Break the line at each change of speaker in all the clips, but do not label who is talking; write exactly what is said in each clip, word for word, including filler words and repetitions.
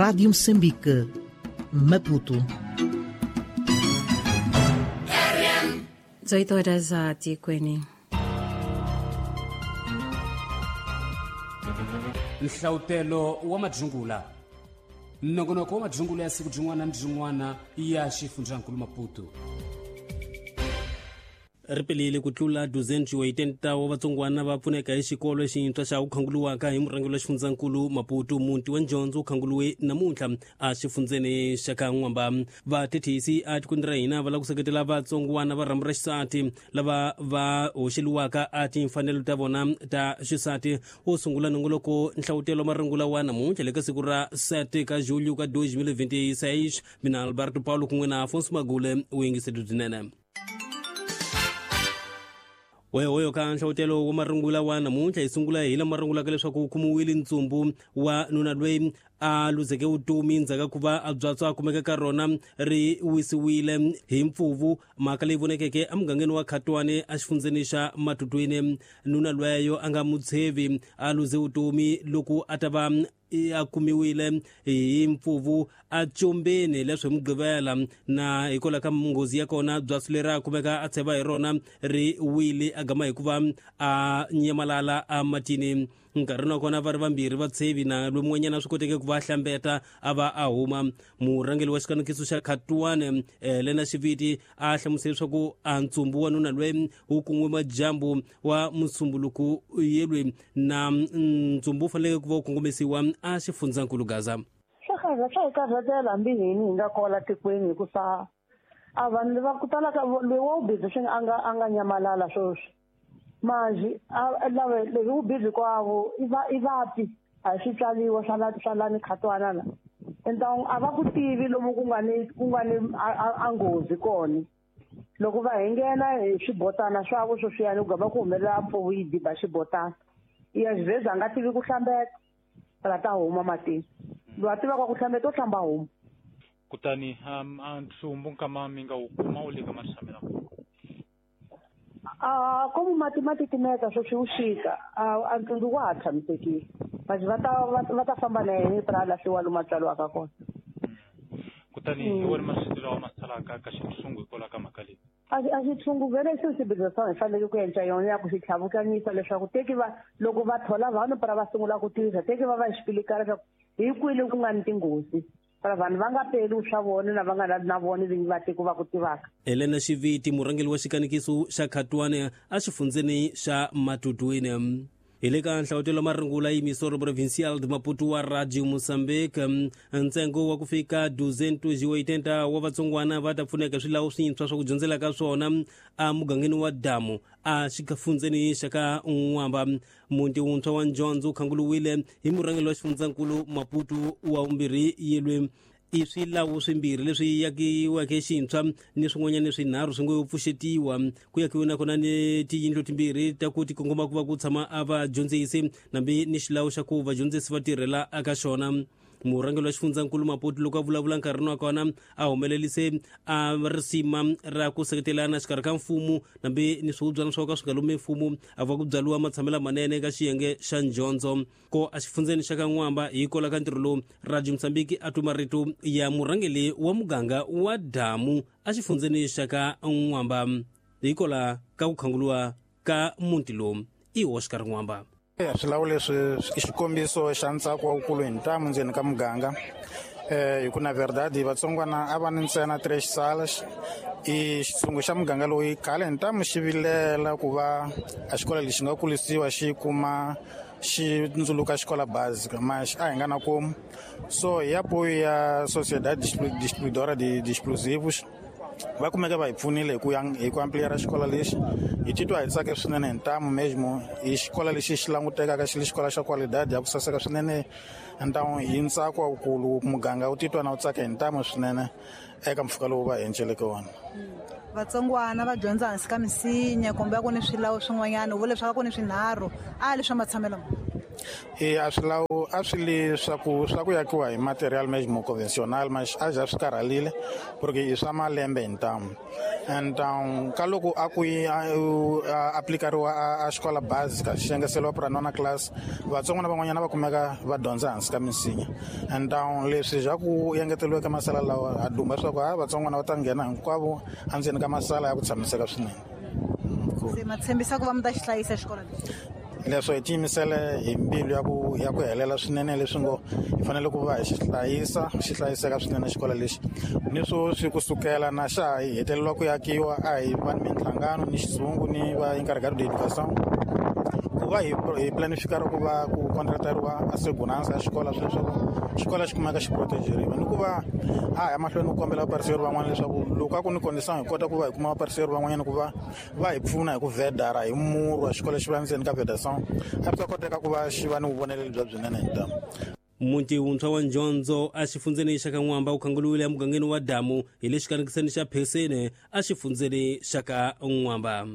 Rádio Moçambique, Maputo.
dezoito horas a Tikwene.
Nhlautelo wa madzungula nongonoko wa madzungula ya siku byin'wana ni byin'wana ya xifundzankulu Maputo.
Ri pelile ku tlula duzentu oitenta wa vatsongwana va pfuneka hi xikolo xintshwa xa ku khanguluwaka hi murhangeri wa xifundzankulu Maputo. Muti wa Njondzo wu khanguluwe namuntlha a xifundzeni xa ka N'wamba. Vathethisi a tikweni ra hina va lava ku seketela vatsongwana va rhambu ra xisati lava va hoxeliwaka a timfanelo ta vona ta xisati. Wo sungula nongoloko nhlawutelo marungula wa namuntlha le ka siku ra sete ka julho ka dois mil e vinte e seis. Mina Alberto Paulo kun'we na Afonso Magule u yingiseli byinene. Wehoyo ka nhlawutelo wa marungula wa namuntlha hi sungula hi lama rungulaka leswaku wu kumiwile ntsumbu wa nuna loyi a luzeke vutomi ndzhaku ka ku va a byatso a kumeka ka rona ri wisiwile hi mpfuvu, mhaka leyi vonekeke emugangeni wa Khatwane exifundzeni xa Matutwini. Nuna lweyo a nga mutshevi a luze vutomi loko a ta va a kumiwile hi mpfuvu a tsombeni leswi hi Mugqivela, na hikwalaho ka nghozi ya kona byatso leri a kumeka a tsheva hi rona ri wile a gama hikuva a nyamalala ematini. Nkarhi wa kona va ri vambirhi vatshevi na lomun'wanyana swi koteke ku va hlambeta a va a huma. Murhangeri wa xikanekiso xa Khatwane Lena Xiviti a hlamusela leswaku a ntsumbu wa nuna loyi wu kun'we madyambu wa musumbuluku yelwe na ntsumbu wu faneleke ku va wu kongomisiwa a xifundzankulu Gaza.
Swa swa hi karhatela hambi hini hi nga kola tikweni hikusa a vanhu va ku tala ka loyi wa wu busy swi a nga a nga nyamalala sweswi. Manje lava leswi wu busy kwavo i va i vapi a swi tswaliwa swa la swa lani Khatwana la. Enta a va ku tivi lomu ku nga ni ku nga ni a nghozi kona. Loko va hi nghena hi swibotana swavo sweswiyani ku gava ku humelela mpfuvu yi diba xibotana. Ya xivheza a nga tivi ku hlambeta la ta huma matini. Loyi a tivaka ku hlambeta u hlamba huma.
Kutani a ntsumbu nkama mi nga wu kuma wu le ka matshamela.
A como mati ma titimeta sweswi wu xika a ntsumbu wa ha tshamisekile. Manje va ta va ta famba na yena pra lahliwa lomu a tswariwaka kona.
Kutani hi wona masiku lawa ma salaka ka xitshungu hikwalaho ka mhaka leyi.
A a xitshungu vele xi xibedhlele swa hi fanele ku endla yona ya ku xi tlhavukanyisa leswaku teki va loko va thola vanhu pra va sungula ku tirha teki va va xipilikana leswaku hi kwini ku nga ni tinghozi. Para vanhu va nga peli swa vona na va nga na vona vinyi va tiko va ku tivaka.
Helena Xiviti murhangeri wa xikanekiso xa Khatwane a xifundzeni xa Matutwini. Hi le ka nhlawutelo marungula yimisoro provincial de Maputo wa Radio Moçambique, ntsengo wa ku fika duzentu oitenta wa vatsongwana va ta pfuneka swilawu swintshwa swa ku dyondzela ka swona emugangeni wa Damu a xifundzeni xa ka N'wamba. Muti wuntshwa wa Njondzo wu khanguluwile hi murhangeri wa xifundzankulu Maputo wa vumbirhi yelwe. I swilawu swimbirhi leswi yakiweke xintshwa ni swin'wanyana swinharhu swi ngo pfuxetiwa. Ku yakiwe nakona ni tiyindlu timbirhi ta ku ti kongoma ku va ku tshama a vadyondzisi nambi ni xilawu xa ku vadyondzisi va tirhela eka xona. Murhangeri wa xifundzankulu Maputo loko a vulavula nkarhini wa kona a humelerise a risima ra ku seketelana xikarhi ka mfumo nambi ni swihubyana swo ka swi nga lumi mfumo a va ku byariwa matshamelo manene eka xiyenge xa Njondzo. Ko a xifundzeni xa ka N'wamba hi kola ka ntirho lowu Radio Moçambique a twa marito ya murhangeri wa muganga wa Damu a xifundzeni xa ka N'wamba hi kola ka ku khanguluwa ka muti lowu i Oscar N'wamba.
Swilawu leswi i xikombiso xa ntsako wa wukulu hi ntamu ndzeni ka muganga. Eh hi ku na verdade vatsongwana a va ni ntsena três salas i xitshungu xa muganga loyi khale hi ntamu xi vilela ku va a xikolo lexi nga kulisiwa xi kuma xi ndzuluka xikola básica mas a hi nga na komu. So hi apoio ya Sociedade Distribuidora de Explosivos va kumeka va hi pfunile hi ku hi ku ampliar xikolo lexi. Hi titwa hi tsake swinene hi ntamu mesmo i xikolo lexi xi langutekaka xi li xikolo xa qualidade ya ku saseka swinene ntamu hi ntsako wukulu muganga wu titwa na wu tsaka hi ntamu swinene eka mpfhuka lowu va enceleke wona.
Vatsongwana va dyondza hansi ka misinya kumbe a ku ni swilawu swin'wanyana u vula leswaku ku ni swinharhu a leswa matshamelo.
E a swi lawo a swi li swa ku swa ku yakiwa hi material mesmo convencional, mas a ja swi karhalile porque i swa malembe hintamu. Então ka loko a ku aplikariwa a xikola básica xi engeseriwa pra nona class, vatsongwana van'wanyana va kumeka va dyondza hansi ka misinya. Então leswi ja ku engeteriwa ka masala lawa ha dumba swa ku ha vatsongwana va ta nghena hinkwavo endzeni ka masala ya ku tshamiseka swinene.
Se ma tshembisa ku va mi ta xi hlayisa xikolo lexi?
Leswo hi tiyimisele hi mbilu ya ku ya ku helela swinene, leswi ngo hi fanele ku va hi xi hlayisa xi hlayiseka swinene xikolo lexi. Ni sweswi kusukela na xa hi hetelela ku yakiwa a hi va ni minhlangano ni xizungu ni va encarregado de educação ku va hi hi planifikara ku va ku contratariwa a segurança ya xikolo leswaku xikolo xi kumeka xi protegeriwa, ni ku va a ya mahlweni ku kombela vaparceri van'wana leswaku loko a ku ni condição hi kota ku va hi kuma vaparceri van'wanyana ku va va hi pfuna hi ku vedara hi murhu wa xikolo xi va ndzeni ka vedação, a swi ta koteka ku va xi va ni vuvoneleli bya byinene hi ntamu.
Muti wuntshwa wa Njondzo a xifundzeni xa ka N'wamba wu khanguluwile emugangeni wa Damu hi le xikanikiseni xa Phesene a xifundzeni xa ka N'wamba.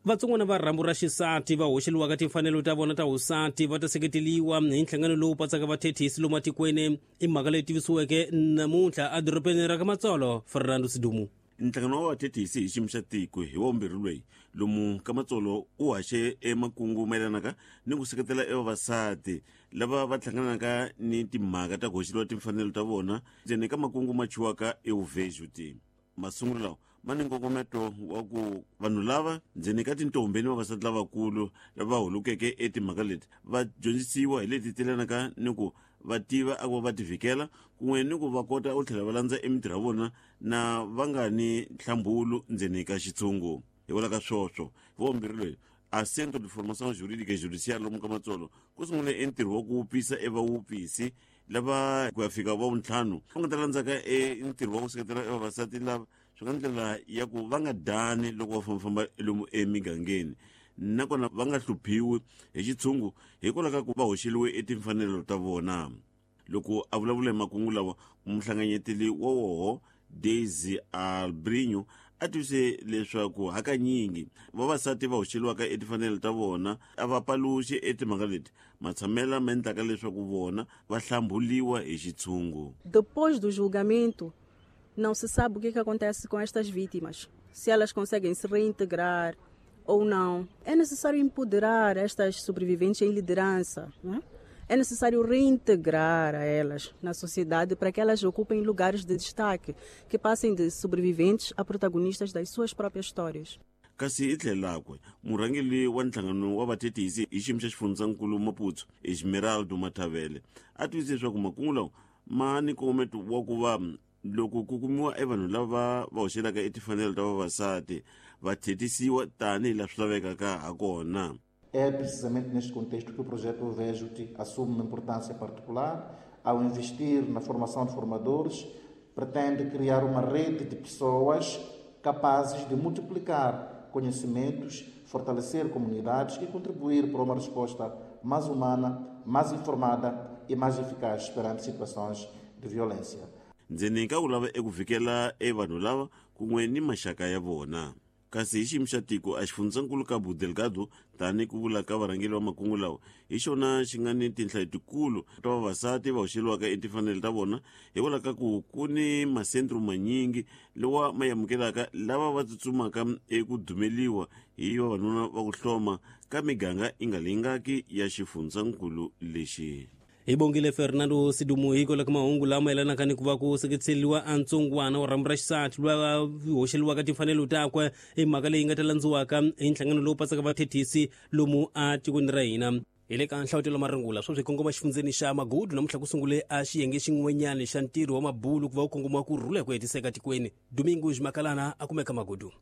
Vatsongwana va rhambu ra xisati va hoxeliwaka timfanelo ta vona ta vusati va ta seketeliwa hi nhlangano lowu patsaka vathethisi lomu matikweni, i mhaka leyi tivisiweke namuntlha edorobeni ra ka Matsolo. Fernando Sidumu.
Nhlangano wa vathethisi hi xiyimo xa tiko hi wa vumbirhi loyi lomu ka Matsolo u haxe emakungu mayelanaka ni ku seketela evavasati lava va hlanganaka ni timhaka ta ku hoxeliwa timfanelo ta vona ndzeni ka makungu ma chiwaka euvejuti. Masungulo lawa ma ni nkongometo wa ku vanhu lava ndzeni ka tintombi ni vavasati lavakulu lava hulukeke etimhaka leti va dyondzisiwa hi leti telanaka ni ku va tiva a ku va ti vhikela kun'we ni ku va kota u tlhela va landza emitirho ya vona na va nga ni nhlambulu ndzeni ka xitshungu. Hikwalaho ka swoswo hi vumbirhi loyi a Centro de Formação Jurídica e Judiciária lomu ka Matsolo ku sungule entirho wa ku wupisa evawupisi lava ku ya fika va vuntlhanu va nga ta landzaka e ntirho wa ku seketela evavasati lava swi nga ndlela ya ku va nga dani loko va fambafamba lomu emigangeni, nakona va nga hluphiwi hi xitshungu hikwalaho ka ku va hoxeliwe etimfanelo ta vona. Loko a vulavula hi makungu lawa, muhlanganyeteli wa woho Daisy Albrinho a tivise leswaku hakanyingi vavasati va hoxeliwaka etimfanelo ta vona a va paluxi etimhaka leti matshamela ma endlaka leswaku vona va hlambuliwa hi xitshungu.
Depois do julgamento, não se sabe o que, que acontece com estas vítimas, se elas conseguem se reintegrar ou não. É necessário empoderar estas sobreviventes em liderança, não é? É necessário reintegrar a elas na sociedade para que elas ocupem lugares de destaque, que passem de sobreviventes a protagonistas das suas próprias histórias.
Kasi hi tlhelakwe murhangeri wa nhlangano wa vathethisi hi xiyimo xa xifundzankulu Maputo Esmeraldo Mathavele a tivise leswaku makungu lawa ma ni nkongometo wa ku va loko ku kumiwa evanhu lava va hoxelaka etimfanelo ta vavasati va thetisiwa tanihi laha swi lavekaka ha kona.
É precisamente neste contexto que o projeto Vejo-te assume uma importância particular. Ao investir na formação de formadores, pretende criar uma rede de pessoas capazes de multiplicar conhecimentos, fortalecer comunidades e contribuir para uma resposta mais humana, mais informada e mais eficaz perante situações de violência.
Ndzeni ka ku lava eku vhikela evanhu lava kun'we ni maxaka ya vona. Kasi hi xiyimo xa tiko a xifundzankulu Cabo Delgado tani ku vula ka varhangeri va makungu lawa hi xona xi nga ni tinhla letikulu ta vavasati va hoxeliwaka etimfanelo ta vona hikwalaho ka ku ku ni masentro manyingi lawa ma amukelaka lava va tsutsumaka eku dumeliwa hi vavanuna va ku hloma ka miganga yi nga lingaki ya xifundzankulu lexi.
Hi bongile Fernando Sidumu hikwalaho ka mahungu lama yelanaka ni ku va ku seketseliwa a ntsongwana wa rhambu ra xisati lwa hoxeliwaka timfanelo takwe, i mhaka leyi nga ta landziwaka hi nhlangano lowu patsaka vathethisi lomu a tikweni ra hina. Hi le ka nhlawutelo marungula sweswi hi kongoma xifundzeni xa Magudu namuntlha ku sungule a xiyenge xin'wanyana xa ntirho wa mabulu ku va wu kongoma ku rhula hi ku hetiseka tikweni. Domingos Makalana a kumeka Magudu.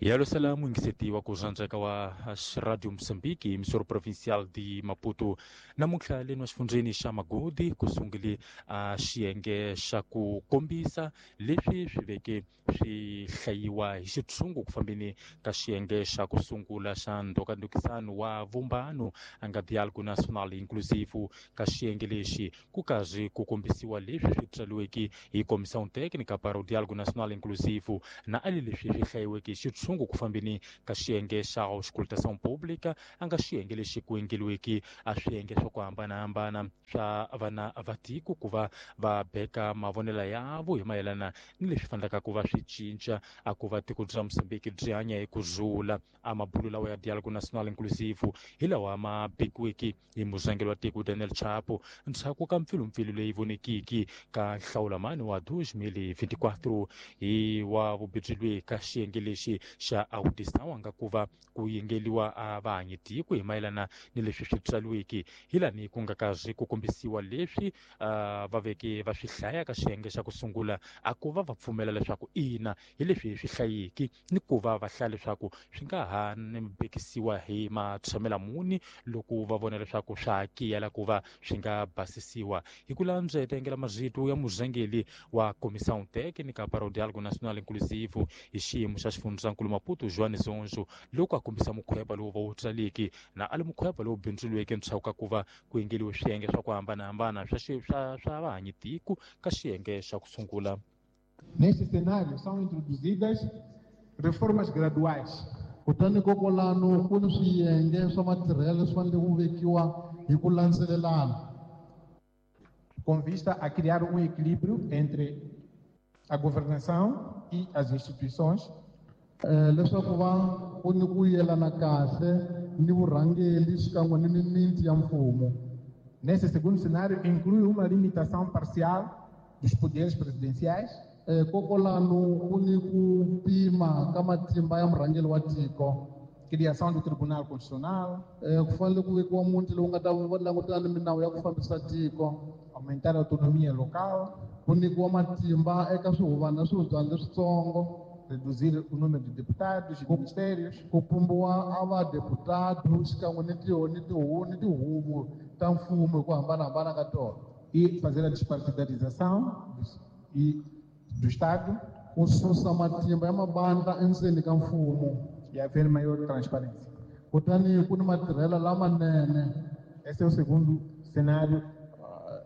Yalo mwingiseti wa kuzanzeka wa Radio Mozambique, emissora provincial de Maputo. Namuntlha leno xifundzeni xa Magodi ku sungule a xiyenge xa ku kombisa leswi swi veke swi hlayiwa hi xitshungu ku fambeni ka xiyenge xa ku sungula xa ndhokandhokisano wa vumbano a nga Diálogo Nacional Inclusivo. Ka xiyenge lexi ku karhi ku kombisiwa leswi swi tsariweke hi Comissão Técnica para o Diálogo Nacional Inclusivo na ali leswi swi hlayiweke xitshungu ku fambeni ka xiyenge xa auscultação pública a nga xiyenge lexi ku endliweke a swiyenge swa ku hambanahambana swa vana va tiko ku va va beka mavonelo yavo hi mayelana ni leswi fanelaka ku va swi cinca a ku va tiko bya Mozambique byi hanya hi ku zula. A mabulo lawa ya Diálogo Nacional Inclusivo hi lawa ma bekiweke hi murhangeri wa tiko Daniel Chapo ndzhaku ka mpfilumpfilu leyi vonekiki ka nhlawulamani wa dois mil e vinte e quatro hi wa vubidzilwe ka xiyenge lexi xa audição nga ku va ku yengeliwa a vahanyi tiko hi mayelana ni leswi swi tsaliweke hi lani ku nga kazi ku kombisiwa leswi va veke va swi hlaya ka xiyenge xa ku sungula a ku va va pfumela leswaku ina hi leswi swi hlayiki ni ku va va hlaya leswaku swi nga ha bekisiwa hi matshamela muni loko va vona leswaku swa hakiyela ku va swi nga basisiwa. Hi ku landza tengela mazito ya murhangeri wa Comissão Técnica para o Diálogo Nacional Inclusivo hi xiyimo xa xifundzankulu Maputo João Zonzo loko a kombisa mukhweba lowu va wu tsaleki na a li mukhweba lowu bindzuriweke ndzhaku ka ku va ku endliwe swiyenge swa ku hambanahambana swa swa swa vahanyi tiko ka xiyenge xa ku sungula.
Neste cenário são introduzidas reformas graduais.
Kutani kokolano ku ni swiyenge swa matirhelo swi fanele ku vekiwa hi ku landzelelana
com vista a criar um equilíbrio entre a governação e as instituições.
Leswaku va ku ni ku yelana kahle ni vurhangeri xikan'we ni mimiti ya mfumo.
Nesse segundo cenário inclui uma limitação parcial dos poderes presidenciais.
Kokolano ku ni ku pima ka matimba ya murhangeri wa tiko.
Criação do Tribunal Constitucional.
Ku fanele ku vekiwa muti lowu nga ta langutana ni minawu ya ku fambisa tiko.
Aumentar a autonomia local.
Ku nyikiwa matimba eka swihuvana swihubyana leswitsongo.
Reduzir o número de deputados e ministérios.
Ku pumbiwa a vadeputado xikan'we ni ni tihuvo ni tihuvo ta mfumo hi ku hambanahambana ka tona.
E fazer a despartidarização e do Estado.
Ku susa matimba ya mabandla endzeni ka mfumo.
E haver maior transparência.
Kutani ku ni matirhelo lamanene.
Esse é o segundo cenário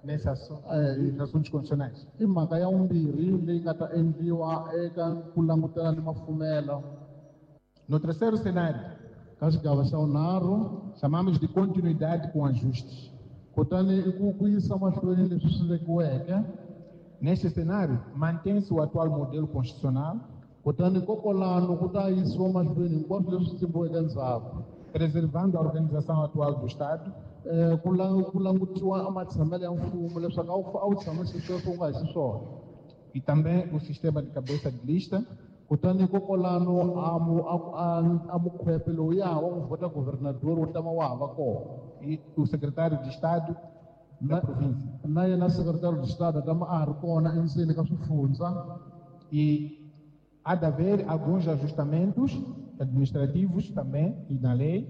nesse assunto, eh, assuntos constitucionais.
I mhaka ya vumbirhi leyi nga ta endliwa eka ku langutana ni mafumelo.
No terceiro cenário,
ka xigava xa vunharhu,
chamamos de continuidade com ajustes.
Kutani i ku ku yisa mahlweni leswi swi vekiweke.
Neste cenário, mantém-se o atual modelo constitucional.
Kutani kokolano ku ta yisiwa mahlweni hinkwaswo leswi tsimbiweke ndzhaku,
preservando a organização atual do Estado.
Ku ku langutiwa matshamelo ya mfumo leswaku a wu a wu tshamise sweswo u nga hi xiswona.
E também o sistema de cabeça de lista.
Kutani kokolano a mu a a mukhwepe lowuya wa ku vhota governador wu tama wa ha va kona.
E o secretário de Estado da província.
Na yena secretário de Estado tama a ha ri kona endzeni ka swifundza.
E há de haver alguns ajustamentos administrativos também e na lei,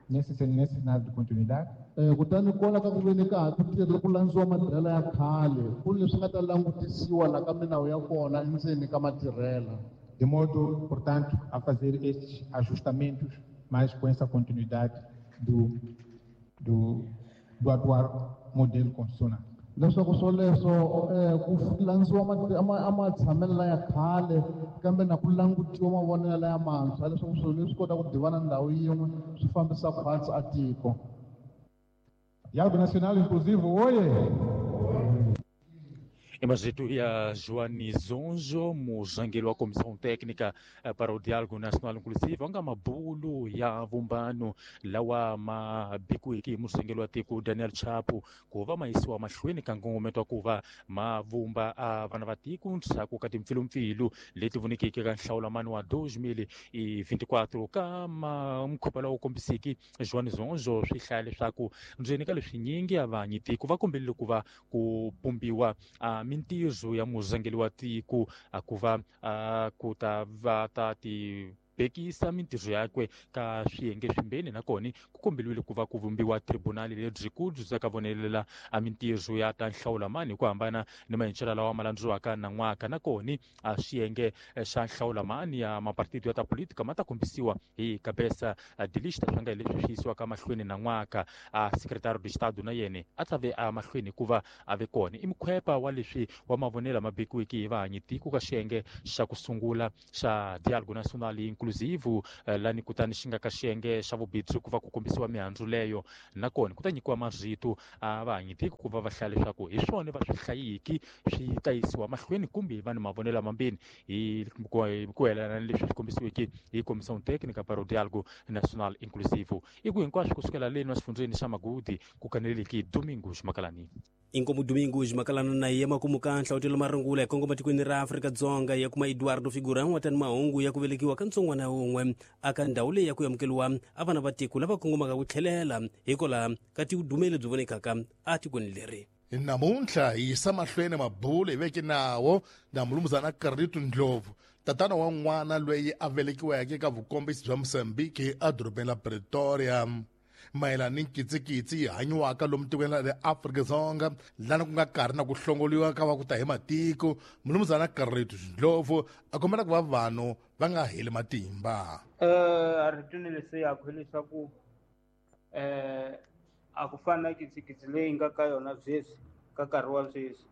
nesse, nesse cenário de continuidade.
Kutani kona ka ku veni ka ha ku tirha ku landziwa matirhelo ya khale ku leswi nga ta langutisiwa la ka minawu ya kona endzeni ka matirhelo.
De modo, portanto, a fazer estes ajustamentos, mas com essa continuidade do, do, do atual modelo constitucional.
Leswaku swoleswo ku landziwa a matshamelo ya khale kambe na ku langutiwa mavonelo ya mantshwa leswaku swilo leswi kota ku divana ndhawu yin'we swi fambisa khwatsi a tiko.
Diálogo Nacional Inclusivo, oye!
Mazito ya Joani Zonzo, murhangeri wa Comissão Técnica para o Diálogo Nacional Inclusivo, nga mabulo ya vumbano lawa ma bikiweke hi murhangeri wa tiko Daniel Chapo ku va ma yisiwa mahlweni ka nkongometo wa ku va ma vumba a vana va tiko ndzhaku ka timpfilumpfilu leti vonekeke ka nhlawulamani wa dois mil e vinte e quatro. Ka mukhuva lowu kombisiki Joani Zonzo swi hlaya leswaku ndzeni ka leswinyingi a vanyi tiko va kombelile ku va ku pumbiwa a mintirho ya murhangeri wa tiko a ku va ku ta va ta ti bekisa mintirho yakwe ka swiyenge swimbeni nakona ku kombeliwile ku va ku vumbiwa tribunali lebyikulu byi ka vonelela a mintirho ya ta nhlawulamani hi ku hambana ni maendlelo lawa ma landziwaka nan'waka nakona a swiyenge xa nhlawulamani ya mapartido ya ta politika ma ta kombisiwa hi kabesa dilista swa nga hi leswi swi yisiwaka mahlweni nan'waka. A secretario de Estado na yena a ta ve a mahlweni hikuva a ve kona i mukhwepa wa leswi wa mavonelo ma bekiweke hi vahanyi tiko ka xiyenge xa ku sungula xa Diálogo Nacional Inclusivo lani kutani xi nga ka xiyenge xa vubindzu ku va ku kombisiwa mihandzu leyo nakona ku ta nyikiwa marito a vahanyi tiko ku va va hlaya leswaku hi swona va swi hlayiki swi ta yisiwa mahlweni kumbe va ni mavonelo mambirhi hi ku yelana ni leswi swi kombisiweke hi Comissão Técnica para o Diálogo Nacional Inclusivo. I ku hinkwaswo kusukela leni wa xifundzeni xa Magudi ku kaneleleki Domingos Makalani.
Inkomu Domingos Makalani na yema kumuka nhlawutelo marungula hi kongoma tikweni ra Afrika-Dzonga ya kuma Eduardo Figura wa tani mahungu ya ku velekiwa ka ntsongwana wun'we aka ndhawu leyi ya ku amukeriwa a vana va tiko lava kongomaka ku tlhelela hikwalaho ka tidumeli byi vonekaka atikweni leri.
Namuntlha hi yisa mahlweni mabulo hi veke nawo na mulumuzana Carlito Ndlovu, tatana wa n'wana loyi a velekiweke eka vukombisi bya Mozambique edorobeni la Pretoria, mayelana ni nkitsikitsi yi hanyiwaka lomu tikweni ra le Afrika-Dzonga lana ku nga karhi na ku hlongoliwa ka va ku ta hi matiko. Mulumuzana Carlito Ndlovu a kombela ku va vanhu va nga heli matimba.
A ri leswi yaku hileswaku um a ku fana na kitsikitsi leyi nga ka yona sweswi ka nkarhi wa sweswi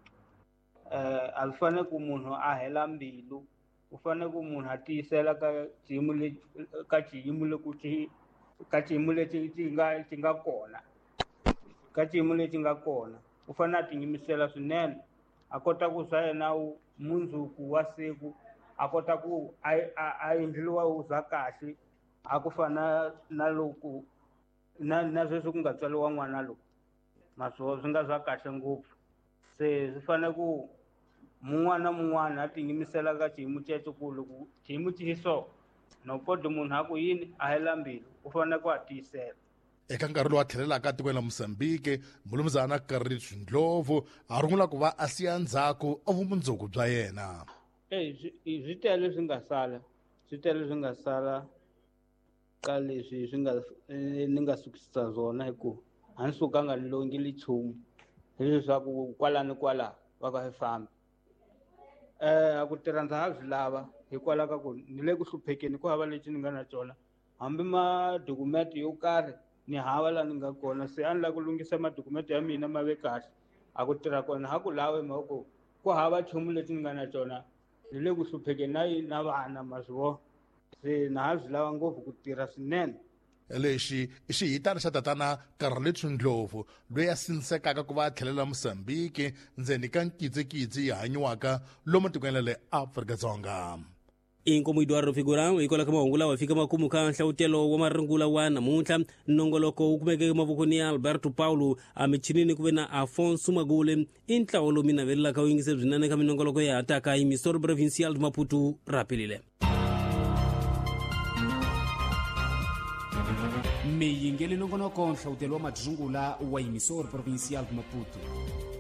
um a swi fanele ku munhu a hela mbilu, u fanele ku munhu a tiyisela ka xiyimo lexi ka xiyimo loko xi ka xiyimo lexi xi nga xi nga kona ka xiyimo lexi nga kona u fanele a tiyimisela swinene a kota ku swa yena mundzuku wa siku a kota ku a a endliwa wu za kahle a ku fana na loko na na sweswi ku nga tswariwa n'wana lowu maswo swi nga swa kahle ngopfu. Se swi fanele ku mun'wana na mun'wana a tiyimisela ka xiyimo xexo ku loko xiyimo xi so no podi munhu a ku yini a hela mbilu u fanele ku a tiyisela.
Eka nkarhi lowu a tlhelelaka etikweni la Mozambique, mulumuzana Carlito Ndlovu a rungula ku va a siya ndzhaku a vumundzuku bya yena.
E swi tele swi nga sala swi tele swi nga sala ka leswi swi nga ni nga sukisa swona hi ku a ni sukanga ni longile nchumu hileswaku kwala ni kwala va ka hi fambi. Eh a ku tirha ndza ha swi lava hikwalaho ka ku ni le ku hluphekeni ku hava lexi ni nga na xona hambi madokumenti yo karhi ni hava laha ni nga kona se a ni lava ku lunghisa madokumenti ya mina ma ve kahle a ku tirha kona ha ku lavi mhaka ku ku hava nchumu lexi ni nga na xona ni le ku hluphekeni na na vana ma swi vona se na ha swi lava ngopfu ku tirha swinene.
Lexi i xihitana xa tatana Carlito Ndlovu loyi a sindzekaka ku va a tlhelela Mozambique ndzeni ka nkitsikitsi yi hanyiwaka lomu tikweni ra le Afrika-Dzonga.
Inkomu Eduardo Figura hikwalaho ka mahungu lawa fika makumu ka nhlawutelo wa marungula wa namuntlha. Nongoloko wu kumeke emavokweni ya Alberto Paulo, emichinini ku ve na Afonso Magule. I ntlawa lowu mi navelelaka wu yingise byinene ka minongoloko ya hataka hi Emissora Provincial de Maputo rapelile.
Miyingeli nongonoko nhlawutelo wa madzungula wa Emissora Provincial de Maputo.